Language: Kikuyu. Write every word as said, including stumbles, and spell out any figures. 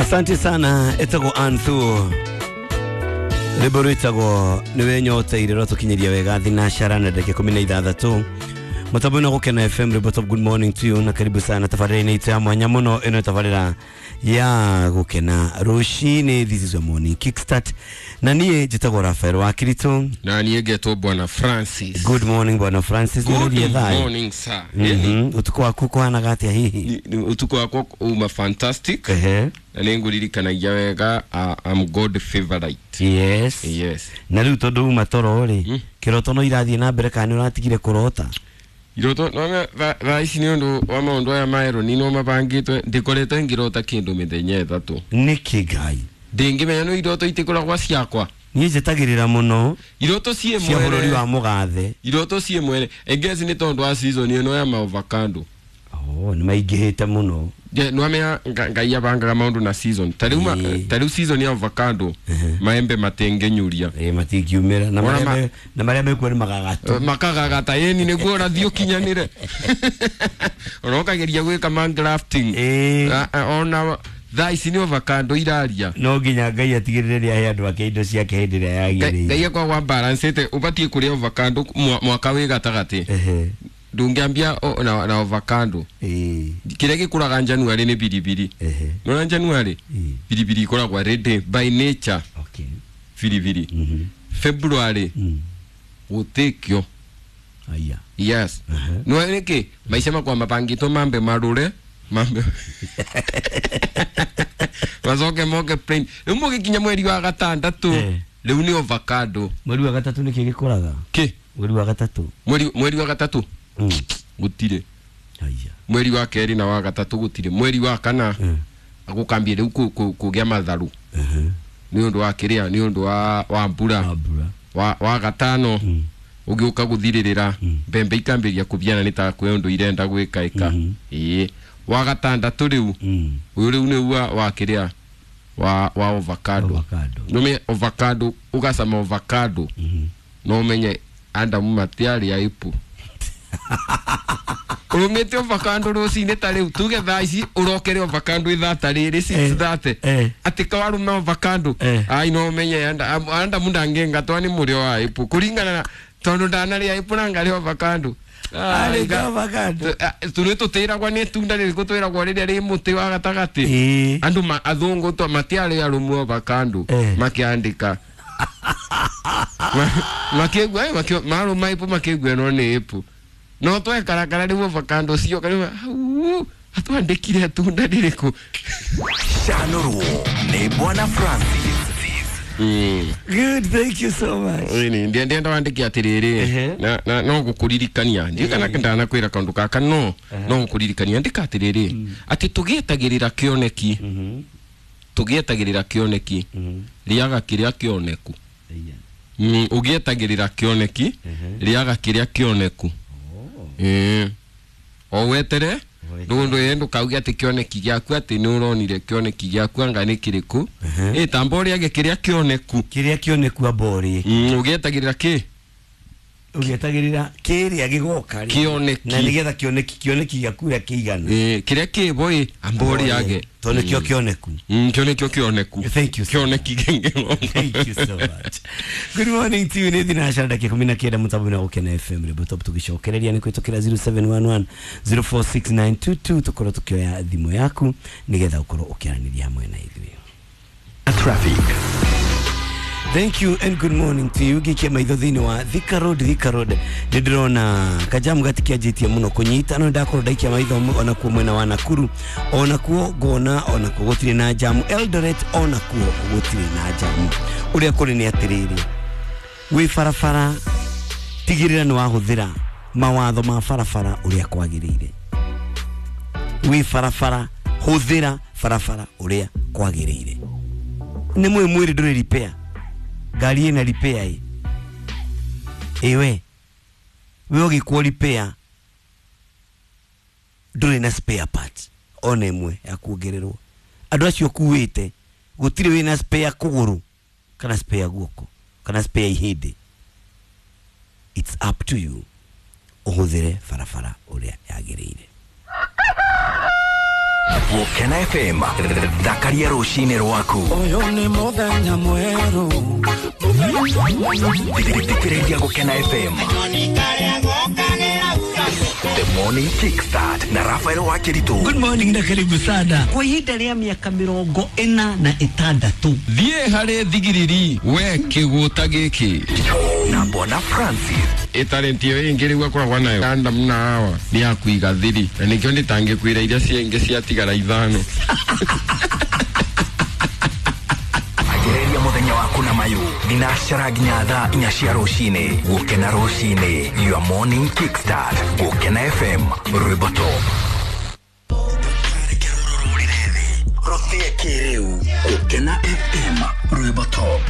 Asante sana etagwo Anthu rwĩmbo rwĩtagwo nĩwe nyoteire rwatũkinyĩria wega thinacara na ndagĩka ikũmi na ithathatũ mũtambo na Gũkena F M rwĩmbo top. Good morning to you na karibu sana tabarĩra-inĩ itũ ya mwanya mũno ĩno tabarĩra ya Gũkena rũcinĩ. This is your morning kickstart na niĩ njĩtagwo Rafael wa Kirito na niĩ ngetwo Bwana Francis. Good morning Bwana Francis. Good morning sir. Mm-hmm. Utuku waku kũhanaga atĩa hihi? Utuku wakwa uma fantastic. Ehe. Na nĩngũririkanagia wega uh, I'm God favorite. Yes. Yes. Na rĩu tondũ uma toro rĩ, mm. kĩroto no irathiĩ na mbere kana nĩ ũratigire kũrota? Iroto no thaa ici nĩ ũndũ wa maũndũ aya maerũ nino mabangĩtwe ndikoretwo ngĩrota kĩndũ mĩthenya ĩtatũ. Nĩkĩ Ngai? Ndĩngĩmenya no iroto itikoragwo ciakwa. Niĩ njĩtagĩrĩra mũno iroto ciĩ cia mwene bũrũri wa mũgathe. Iroto ciĩ mwene engezi nĩ tondũ wa season ĩno ya maovacado. Oh, nĩ maingĩhĩte mũno. Je, nwamenya Ngai abangaga maũndũ na season. Ta rĩu ta rĩu season ya avocado maembe matengenyuria. Eh, matingiumĩra na marĩa na marĩa mekuo nĩ magagatu. Makagagata yeni nĩguo ũrathiĩ ũkinyanĩre. Ũrokageria gwĩka man grafting. Ona thaa ici nĩ avocado iraria. No nginya Ngai atigĩrĩre nĩ ahe andũ ake indo ciake hĩndĩ ĩrĩa yagĩrĩire. Ngai akwa balancĩte ũbatiĩ kũrĩa avocado mwaka wĩ gatagatĩ. Ehe. Ndũngĩambia na, na avocado. Eh. Kĩrĩa gĩkũraga January nĩ biribiri. Ehe. Nona January biribiri ikoragwo ready by nature. Okay. Biribiri. Mm -hmm. February mm. gũtikio. Aya. Yes. Uh -huh. No nĩkĩ maica makwa mabangĩtwo mambe marũre mambe macoke moke plain. Rĩu mũgĩkinya mweri wa gatandatũ eh. Rĩu nĩ avocado. Mweri wa gatatũ nĩkĩ gĩkũraga? Kĩ? Mweri wa gatatũ. Mweri mweri wa gatatũ. Mm. Gũtirĩ. Aya. Mweri wa kerĩ na wa gatatũ gũtirĩ. Mweri wa kana mm. agũkambia rĩu kũgĩa matharũ. Uh -huh. Nĩ ũndũ wa kĩrĩa nĩ ũndũ wa wa mbura. Wa mbura. Wa wa gatano mm. ũgĩũka gũthirĩrĩra mm. mbembe ikambĩrĩria kũbiana nĩ ta kwĩ ũndũ irenda gwĩka ĩka. Mm -hmm. Ĩĩ. Wa gatandatũ rĩu mm. ũyũ rĩu nĩ wa wa kĩrĩa wa wa avocado. Avocado. Nũme avocado ũgacama avocado. Mm -hmm. No ũmenye Adamu matiarĩ aipu. Ũrũmĩte avocado rũcinĩ ta rĩu tuge thaa ici ũrokere avocado ithaa ta rĩrĩ six thirty atĩ kawarũma avocado ai no ũmenye Adamu ndangĩngatwa nĩ mũrĩo wa aipu kũringana na tondũ ndanarĩa aipu na ngarĩa avocado. Arĩ avocado tũrĩ tũtĩragwo nĩ itunda rĩrĩkũ twĩragwo rĩrĩa rĩ mũtĩ wa gatagatĩ. Andũ athũngũ to matiarĩ arũmu avocado makĩandĩka makĩigua marũma aipu makĩigua ĩno nĩ aipu. No twekarakara rĩu avocado cio karĩu atwandĩkire itunda rĩrĩkũ. Canũrwo nĩ Bwana Francis. Mm. Good, thank you so much. Ĩni ndienda wandĩke atĩrĩrĩ na, na no gũkũririkania ndirikana ndanakwĩra kaũndũ gaka no no gũkũririkania ndĩka atĩrĩrĩ atĩ tũgĩetagĩrĩra kĩoneki tũgĩetagĩrĩra kĩoneki rĩaga kĩrĩa kĩoneku. Mm, ũgĩetagĩrĩra kĩoneki rĩaga kĩrĩa kĩoneku. Eh. O wetere ndũndũ ĩ ndũkauge atĩ kĩoneki gĩaku atĩ nĩ ũronire kĩoneki gĩaku anga nĩ kĩrĩkũ. Ĩ tamba ũrĩage kĩrĩa kĩoneku. Kĩrĩa kĩoneku amba ũrĩe. Mm, ũgĩetagĩrĩra kĩ? Ũgĩetagĩrĩra kĩrĩa gĩgoka rĩ. Kĩoneki. Na nĩgetha kĩoneki kĩoneki gĩaku ũrĩa kĩigana. Ĩ kĩrĩa kĩbo ĩ amba ũrĩage. Tondũ nĩkĩo kĩoneku. Mm, kĩo nĩkĩo kĩoneku. Thank you. Kĩoneki gĩngĩ. Thank you so much. Good morning to you. Nĩ thinacara ndagĩka ikũmi na kenda mũtambo-inĩ wa Gũkena F M rĩmbo top tũgĩcokereria nĩ kũhĩtũkĩra zero seven one one zero four six nine two two tũkorwo tũkĩoya thimũ yaku nĩgetha ũkorwo ũkĩaranĩria hamwe na ithuĩ. Traffic. Thank you and good morning to you. Gikia maitho thĩinĩ wa Thika Road, Thika Road. Ndĩrona kajamu gatikianjĩtie mũno kũnyita no ndakorwo ndaikia maitho onakuo mwena wa Nakuru onakuo ngona onakuo gũtirĩ na jamu. Eldoret onakuo gũtirĩ na jamu. Ũrĩa kũrĩ nĩ atĩrĩrĩ, wĩ barabara tigĩrĩra nĩ wahũthĩra mawatho ma barabara ũrĩa kwagĩrĩire. Wĩ barabara hũthĩra barabara ũrĩa kwagĩrĩire. Nĩ mwĩ mwĩrĩ ndũrĩ repair. Ngari ĩna repair ĩ ĩwe we ũgĩkwo repair ndũrĩ na spare part ona ĩmwe ya kuongererwo. Andũ acio ũkuĩte gũtirĩ wĩna spare kũgũrũ kana spare guoko kana spare ihĩndĩ. It's up to you ũhũthĩre barabara ũrĩa yagĩrĩire. Gũkena F M thakaria rũcinĩ rwaku. Ũyũ nĩ mũthenya mwerũ. Thikĩrĩria Gũkena F M. The Morning Kickstart na Rafael Wakiritu. Good morning na karibu sana. Kwa ihinda rĩa mĩaka mĩrongo ĩna na ĩtandatũ. Thiĩ harĩ thigiriri we kĩgũta gĩkĩ. Na Bwana Francis. Ĩtalenti ĩyo ĩngĩ rĩu akoragwo nayo Adam na Hawa nĩ ya kũiga thiri na nĩkĩo ndĩtangĩkwĩra iria ciengĩ ciatigara ithano. Anjĩrĩria mũthenya waku na mayu thinacara nginya thaa inya cia rũcinĩ. Gũkena rũcinĩ, your morning kickstart. Gũkena F M rwĩmbo top. Rũthie kĩrĩu. Gũkena F M rwĩmbo top.